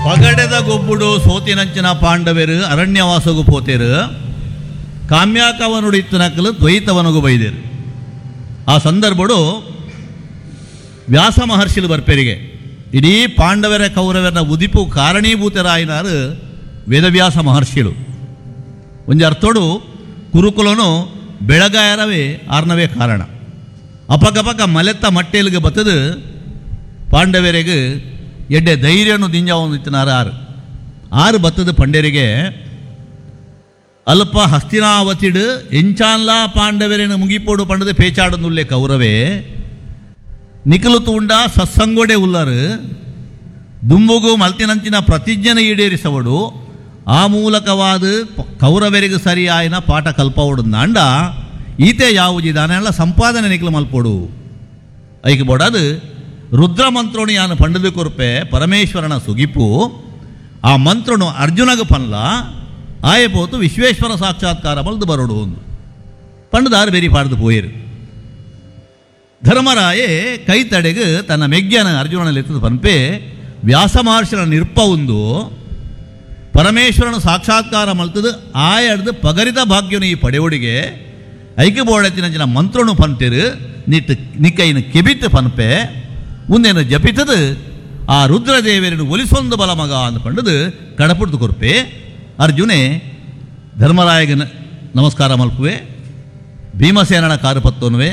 ಪಗಡೆದ ಗೊಬ್ಬುಡು ಸೋತಿನಂಚಿನ ಪಾಂಡವೆರು ಅರಣ್ಯವಾಸಗು ಪೋತೇರು. ಕಾಮ್ಯಾಕವನುಡು ಇತ್ತನಕಲು ದ್ವೈತವನಗು ಬೈದೇರು. ಆ ಸಂದರ್ಭಡು ವ್ಯಾಸ ಮಹರ್ಷಿಲು ಬರ್ಪೆರಿಗೆ ಇಡೀ ಪಾಂಡವರ ಕೌರವರ ಉದಿಪು ಕಾರಣೀಭೂತರಾಯಿನಾರು ವೇದವ್ಯಾಸ ಮಹರ್ಷಿಲು. ಒಂಜಿ ಅರ್ಥೋಡು ಕುರುಕುಲನು ಬೆಳಗಾಯರವೇ ಆರ್ನವೇ ಕಾರಣ. ಅಪಕಪಕ ಮಲೆತ್ತ ಮಟ್ಟೆಲ್ಗೆ ಬತ್ತದು ಪಾಂಡವರಿಗೆ ಎಡ್ಡೆ ಧೈರ್ಯನು ದಿಂಜಾವೊಂದಿತ್ತಿನಾರು ಆರು ಆರು ಬತ್ತದ ಪಂಡರಿಗೆ ಅಲ್ಪ ಹಸ್ತಿನಾವತಿಡು ಎಂಚಾನ್ಲಾ ಪಾಂಡವರೇನು ಮುಗಿಪೋಡು ಪಂಡದ ಪೇಚಾಡನುಲ್ಲೆ ಕೌರವೇ ನಿಕಲು ತೂಂಡ ಸತ್ಸಂಗೋಡೆ ಉಲ್ಲರು ದುಂಬುಗು ಮಲ್ತಿನಂಚಿನ ಪ್ರತಿಜ್ಞೆನ ಈಡೇರಿಸವಡು ಆ ಮೂಲಕವಾದ ಕೌರವರಿಗೆ ಸರಿಯಾಯಿನ ಪಾಠ ಕಲ್ಪವಡು ನಾಂಡ ಈತೆ ಯಾವುಜಿದಾನೆಲ್ಲ ಸಂಪಾದನೆ ನಿಕಲು ಮಲ್ಪೋಡು ಐಕೆ ಬೋಡಾದು ರುದ್ರ ಮಂತ್ರೋಣಿ ಯಾನು ಪಂಡದು ಕೊರ್ಪೆ ಪರಮೇಶ್ವರನ ಸುಗಿಪು ಆ ಮಂತ್ರನು ಅರ್ಜುನಗ ಪನ್ಲ ಆಯೆ ಪೋತು ವಿಶ್ವೇಶ್ವರ ಸಾಕ್ಷಾತ್ಕಾರ ಬಲ್ದು ಬರೋಡು ಒಂದು ಪಂಡದಾರು ಬೇರಿ ಪಾಡ್ದು ಪೋಯಿರು. ಧರ್ಮರಾಯೆ ಕೈ ತಡೆಗು ತನ್ನ ಮೆಗ್ಯನ ಅರ್ಜುನನಲ್ಲಿ ಪನ್ಪೆ ವ್ಯಾಸ ಮಹರ್ಷಿನ ನಿರ್ಪ ಒಂದು ಪರಮೇಶ್ವರನ ಸಾಕ್ಷಾತ್ಕಾರ ಮಲ್ತದು ಆಯಡ್ದು ಪಗರಿತ ಭಾಗ್ಯನು ಈ ಪಡೆಯೋಡಿಗೆ ಐಕೆ ಬೋಡತಿನ ಮಂತ್ರನು ಪಂತಿರು ನಿಟ್ಟು ನಿಕ್ಕೈನ ಕೆಬಿತ್ತು ಪನ್ಪೆ ಉಂದೇನು ಜಪಿತದು ಆ ರುದ್ರದೇವರನ್ನು ಒಲಿಸೊಂದು ಬಲ ಮಗ ಅಂದ್ಕೊಂಡದು ಕಡಪುಡ್ದು ಕೊರ್ಪೆ. ಅರ್ಜುನೆ ಧರ್ಮರಾಯಗ ನಮಸ್ಕಾರ ಮಲ್ಪುವೆ, ಭೀಮಸೇನನ ಕಾರು ಪತ್ತೋನುವೆ,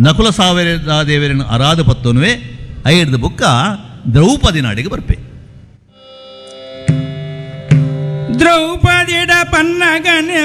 ನಕುಲ ಸಾವಿರ ದೇವರನ್ನು ಅರಾದ ಪತ್ತೋನುವೆ, ಐಡ್ದು ಬುಕ್ಕ ದ್ರೌಪದಿ ನಾಡಿಗೆ ಬರ್ಪೆ. ದ್ರೌಪದಿಡ ಪನ್ನಗನೆ.